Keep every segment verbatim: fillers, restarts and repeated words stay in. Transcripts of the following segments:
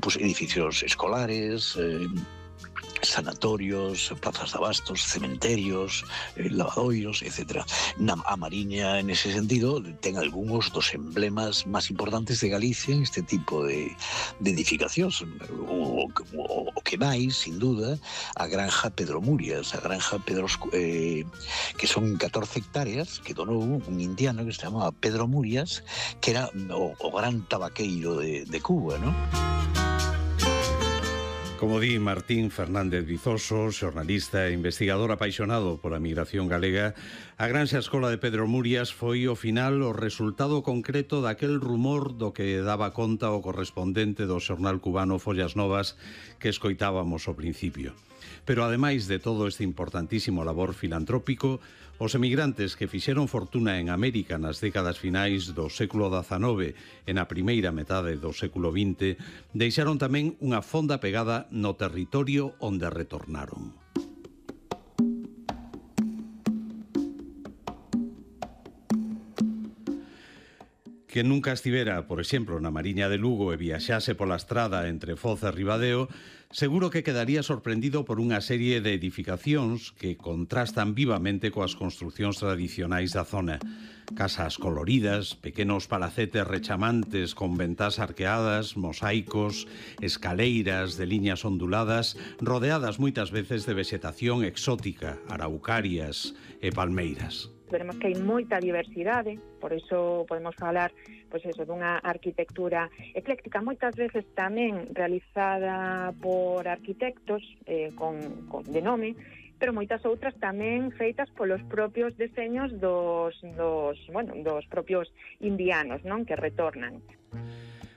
pues, edificios escolares, eh, sanatorios, plazas de abastos, cementerios, eh, lavadoiros, etcétera. Na, a Mariña, en ese sentido, ten algúns dos emblemas máis importantes de Galicia en este tipo de, de edificacións. O, o, o que máis, sin duda, a granja Pedro Murias, a granja Pedro, eh, que son catorce hectáreas, que donou un indiano que se chamaba Pedro Murias, que era o, o gran tabaqueiro de, de Cuba, ¿no? Como di Martín Fernández Vizoso, xornalista e investigador apaixonado pola migración galega, a Granxa Escola de Pedro Murias foi ao final o resultado concreto daquel rumor do que daba conta o correspondente do xornal cubano Follas Novas que escoitábamos ao principio. Pero ademais de todo este importantísimo labor filantrópico, os emigrantes que fixeron fortuna en América nas décadas finais do século dezanove e na primeira metade do século vinte deixaron tamén unha fonda pegada no territorio onde retornaron. Que nunca estivera, por exemplo, na Mariña de Lugo e viaxase pola estrada entre Foz e Ribadeo, seguro que quedaría sorprendido por unha serie de edificacións que contrastan vivamente coas construcións tradicionais da zona. Casas coloridas, pequenos palacetes rechamantes con ventás arqueadas, mosaicos, escaleiras de liñas onduladas, rodeadas moitas veces de vexetación exótica, araucarias e palmeiras. Veremos que hai moita diversidade, por iso podemos falar pois eso, dunha arquitectura ecléctica, moitas veces tamén realizada por arquitectos eh, con, con de nome, pero moitas outras tamén feitas polos propios deseños dos, dos, bueno, dos propios indianos, non, que retornan.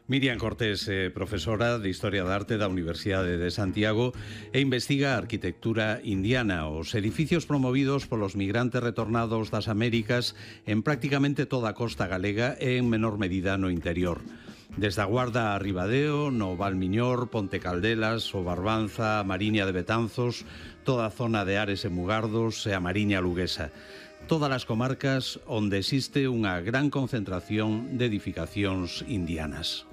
Miriam Cortés é profesora de Historia da Arte da Universidade de Santiago e investiga a arquitectura indiana, os edificios promovidos polos migrantes retornados das Américas en prácticamente toda a costa galega e en menor medida no interior. Desde a Guarda a Ribadeo, no Valmiñor, Ponte Caldelas, o Barbanza, a Mariña de Betanzos, toda a zona de Ares e Mugardos e a Mariña Luguesa. Todas as comarcas onde existe unha gran concentración de edificacións indianas.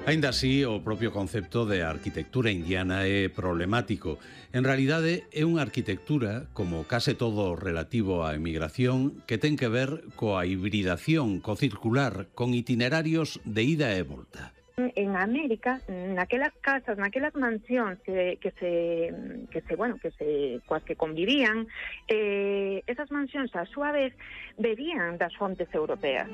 Aínda así, o propio concepto de arquitectura indiana é problemático. En realidade, é unha arquitectura, como case todo relativo á emigración, que ten que ver coa hibridación, co circular, con itinerarios de ida e volta. En América, naquelas casas, naquelas mansións que, que se que se, bueno, que se coas que convivían, eh, esas mansións a súa vez bebían das fontes europeas.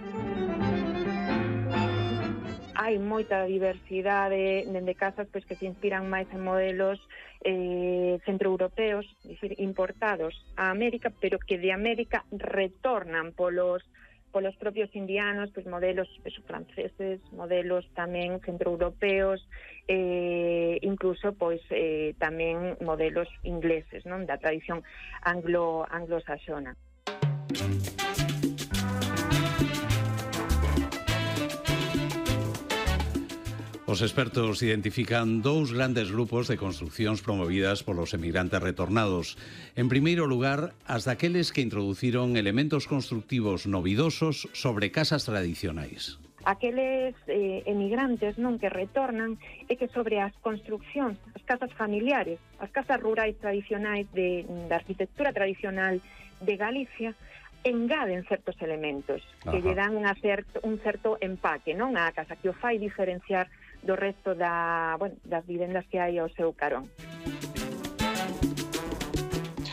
Hai moita diversidade dende casas pois que se inspiran máis en modelos eh, centroeuropeos, dicir, importados a América, pero que de América retornan polos polos propios indianos, pois modelos eso, franceses, modelos tamén centroeuropeos, eh, incluso pois eh, tamén modelos ingleses, non, da tradición anglo anglosaxona. Os expertos identifican dous grandes grupos de construcións promovidas polos emigrantes retornados. En primeiro lugar, as daqueles que introduciron elementos constructivos novidosos sobre casas tradicionais. Aqueles eh, emigrantes non que retornan é que sobre as construccións, as casas familiares, as casas rurais tradicionais de, da arquitectura tradicional de Galicia, engaden certos elementos que lle dan unha certo, un certo empaque, non, á casa, que o fai diferenciar do resto da, bueno, das vivendas que hai ao seu carón.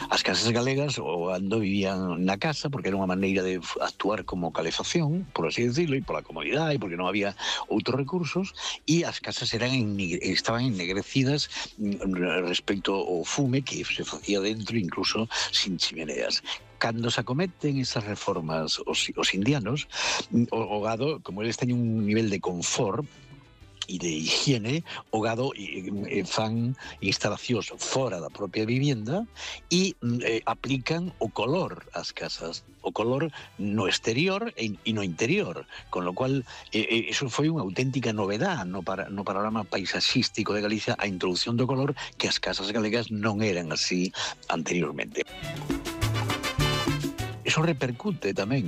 As casas galegas o ando vivían na casa porque era unha maneira de actuar como calefacción, por así decirlo, e pola comodidade, e porque non había outros recursos, e as casas eran estaban ennegrecidas respecto ao fume que se facía dentro, incluso sin chimeneas. Cando se acometen esas reformas os, os indianos, o, o gado, como eles teñen un nivel de confort e de higiene, o gado e, e fan instalacións fora da propia vivienda e eh, aplican o color ás casas, o color no exterior e, e no interior, con lo cual eh, eso foi unha auténtica novedad no, para, no panorama paisaxístico de Galicia, a introducción do color, que as casas galegas non eran así anteriormente. Eso repercute tamén